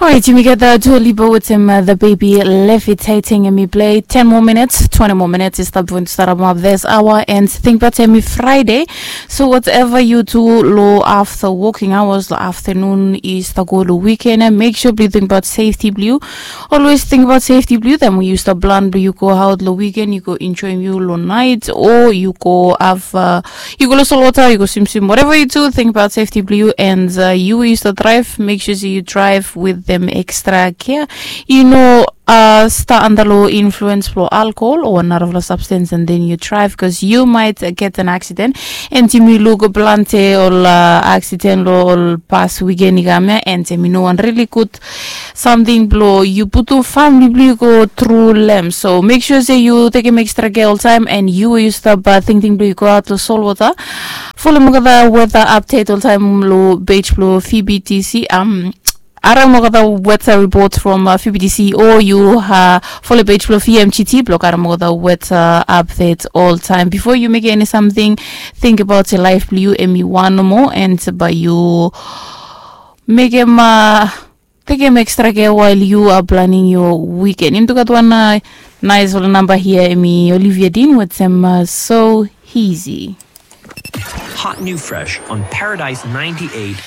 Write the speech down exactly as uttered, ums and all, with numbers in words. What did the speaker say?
Alright, yumi gat Dua Lipa wetem the baby levitating, and mi play ten more minutes, twenty more minutes is the point to start up this hour, and think about mi Friday. So whatever you do lo after working hours, lo afternoon is the go lo weekend, and make sure you think about safety blue. Always think about safety blue. Then we use the plan blue, you go out lo weekend, you go enjoy you lo night, or you go have uh, you go lo solota, you go swim swim, whatever you do, think about safety blue, and uh, you use the drive, make sure you drive with them extra care. You know, uh, start under low influence for alcohol or another of the substance, and then you drive because you might uh, get an accident. And yumi luk plante ol uh, accident lo ol past weekend i kam ya, and yumi no wan really good something blo yu putum famili blo yu go tru lem. So make sure se yu tekem extra care oltaem, and yu we yu stap uh, tingting blo yu go aot lo solwota. Folem olgeta weather update oltaem lo page blo V B T C. Um, harem olgeta weather report from uh, V B T C, o yu uh, folem page blo V M G T blo harem olgeta weather update oltaem. Bifo yu mekem eni samting, think about se laef blo yu hemi wan nomo, and bae yu mekem uh, tekem extra care while you are planning your weekend. Yumi tu gat wan uh, nice ol namba hia, hemi Olivia Dean wetem uh, So Easy. Hot new fresh on Paradise ninety-eight.